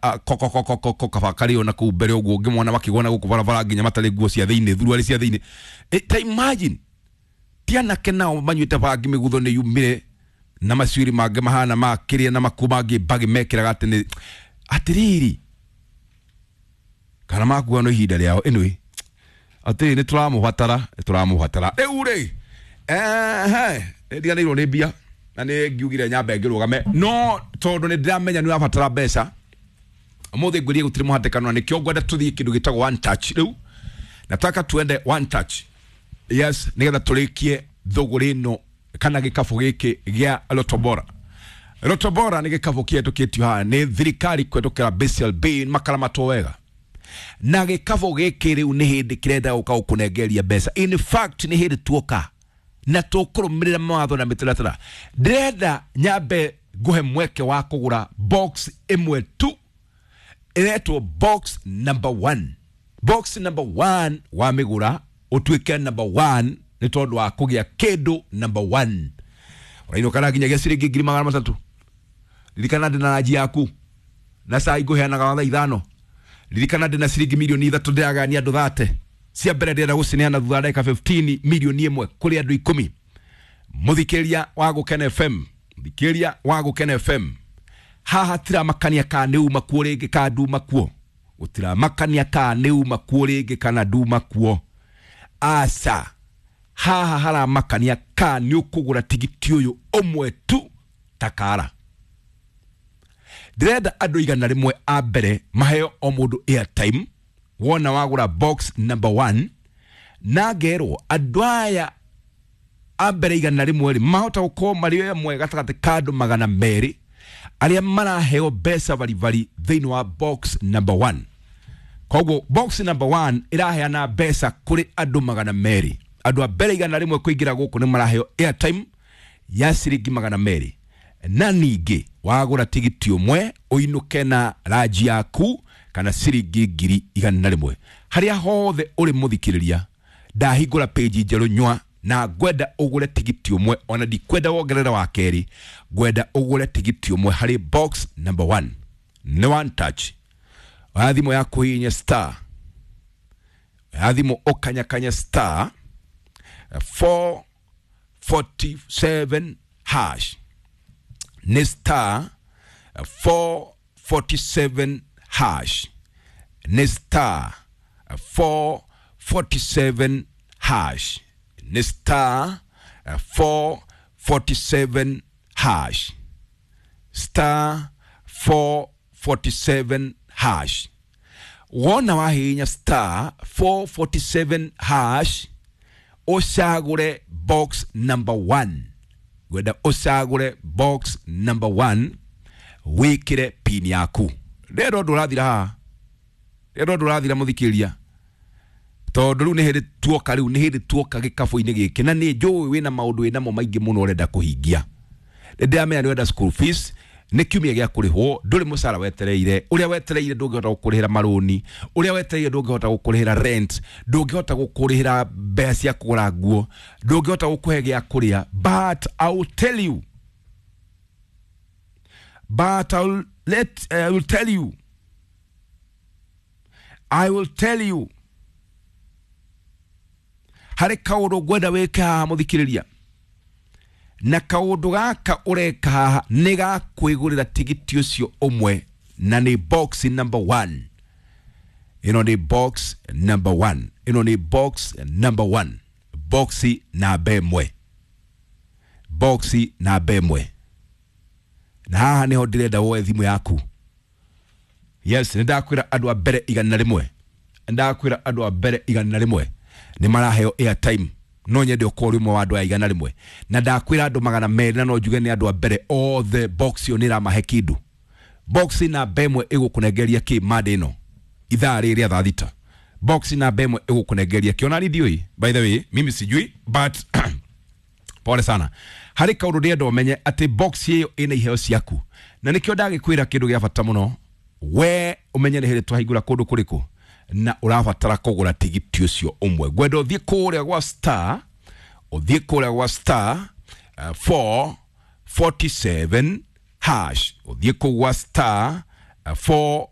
Koko kaba karĩ ona kũu mbere ũguo ũngĩmona makĩgona gũkũ barabara nginya matarĩ nguo cia thĩinĩ, thuruarĩ cia thĩinĩ. Ta imagine ti anake nao manyuĩte bangi, mĩgutho nĩ yumire na macuiri mangĩ mahana ma kĩrĩa na makuo mangĩ mbagi mekĩraga atĩ nĩ atĩrĩrĩ kana makua no ihinda rĩao. Anyway, atĩrĩ, nĩ tũramũbatara, nĩ tũramũbatara rĩu rĩ. Ehe, nĩ ndiganĩirwo nĩ mbia na nĩ ngiugire nyambe ngĩrũgame, no tondũ nĩ ndĩramenya nĩ ũrabatara mbeca ũmũthĩ, ngwĩrie gũtirĩ mũhatĩkano, na nĩkĩo ngwenda tũthiĩ kĩndũ gĩtagwo one touch. Rĩu nataka tuende one touch, yes, nĩgetha tũrĩkie thũgũrĩ ĩno kana gĩkabũ gĩkĩ gĩa Lotto Bora. Lotto Bora nĩ gĩkabũ kĩhetũkĩtio haha nĩ thirikari kũhetũkĩra BCLB, makaramatwo wega na gĩkabũ gĩkĩ. Rĩu nĩ hĩndĩ kĩrenda gũka gũkũnengeria mbeca. In fact, nĩ hĩndĩ tuoka na tũkũrũmĩrĩra mawatho na mĩtaratara. Ndĩrenda nyambe ngũhe mweke wa kũgũra box ĩmwe tu ĩretwo box number one. Box number one wamĩgũra ũtuĩke number one nĩ tondũ wa kũgĩa kĩndũ number one ũrainũka nginyagia ciringi 300,000. Ririkana ndĩ na ranji yaku na cai ngũheanaga wa thaa 5. Ririkana ndĩ na ciringi 3 mirioni ndĩragania andũ 30 cia mbere. Ndĩrenda gũcineana thutha wa ndagĩka 15, 1 mirioni kũrĩ andũ 10. Mũthikĩria wa Gũkena FM, mũthikĩria wa Gũkena FM, haha tiramakania kana nĩ uma kuo rĩngĩ kana nduma kuo, gũtiramakania kana nĩ uma kuo rĩngĩ kana nduma kuo, aca. Haha haramakania kana nĩ ũkũgũra tigiti ũyũ ũmwe tu takara. Ndĩrenda andũ 100 a mbere maheo o mũndũ airtime wona wagũra box number one, na ngerwo andũ aya a mbere 100 rĩ mahota gũkorwo marĩ amwe gatagatĩ ka andũ 200 arĩa maraheo mbeca baribari thĩinĩ wa box number one. Koguo box number one ĩraheana mbeca kũrĩ andũ 200. Andũ a mbere 100 kũingĩra gũkũ nĩ maraheo airtime ya ciringi 200, na ningĩ wagũra tigiti ũmwe ũinũke na ranji yaku kana ciringi 100,000. Harĩa hothe ũrĩ mũthikĩrĩria, ndahingũra page njerũ nywa na ngwenda ũgũre tigiti ũmwe, ona ndikwenda wongerere wa kerĩ, ngwenda ũgũre tigiti ũmwe harĩ box number one. Nĩ one touch. Oya thimũ yaku, hihinya star, oya thimũ ũkanyakanya star 447 hash. Nĩ star 447 hash, nĩ star 447 hash, nĩ star 447 hash, star 447 hash. Wona wahihinya star 447 hash, ũcagũre box number one. Ngwenda ũcagũre box number one, wĩkĩre pin yaku. Rĩrĩa ũndũ ũrathira haha, rĩrĩa ũndũ ũrathira mũthikĩria, tondũ rĩu nĩ hĩndĩ tuoka, rĩu nĩ hĩndĩ tuoka gĩkabũ-inĩ gĩkĩ, na nĩ njũĩ wĩna maũndũ wĩnamo maingĩ mũno ũrenda kũhingia. Nĩ ndĩramenya nĩ ũrenda school fees, nĩ kiumia gĩa kũrĩhwo, ndũrĩ mũcara wetereire, ũrĩa wetereire ndũngĩhota gũkũrĩhĩra marũni, ũrĩa wetereire ndũngĩhota gũkũrĩhĩra rent, ndũngĩhota gũkũrĩhĩra mbeca cia kũgũra nguo, ndũngĩhota gũkũhe gĩa kũrĩa. But I will tell you, but I will tell you, I will tell you, harĩ kaũndũ ngwenda wĩke haha mũthikĩrĩria, na kaũndũ gaka ũreka haha nĩ ga kwĩgũrĩra tigiti ũcio ũmwe, na nĩ box number one. Ĩno nĩ box number one, ĩno nĩ box number one, box namba 1, box namba 1. Na haha nĩho ndĩrenda woe thimũ yaku. Yes, nĩ ndakwĩra andũ a mbere 100, ndakwĩra andũ a mbere 100 nĩ maraheo airtime. No nyende ũkorwo ũrĩ ũmwe wa andũ aya 100, na ndakwĩra andũ 200, na no njuge nĩ andũ a mbere othe. Box ĩyo nĩ ĩramahe kĩndũ. Box namba 1 ĩgũkũnengeria kĩ mande ĩno ithaa rĩrĩ rĩa thaa 6? Box namba 1 ĩgũkũnengeria kĩ? Ona ndiũĩ, by the way, mimi sijui, but pole sana. Harĩ kaũndũ ndĩrenda ũmenye atĩ box ĩyo ĩna iheo ciaku, na nĩkĩo ndagĩkwĩra kĩndũ gĩa bata mũno we ũmenye nĩ hĩndĩ twahingũra kũndũ kũrĩkũ na ũrabatara kũgũra tigiti ũcio ũmwe. Ngwenda ũthiĩ kũrĩa gwa star, ũthiĩ kũrĩa gwa star 447 hash, ũthiĩ kũu gwa star 4.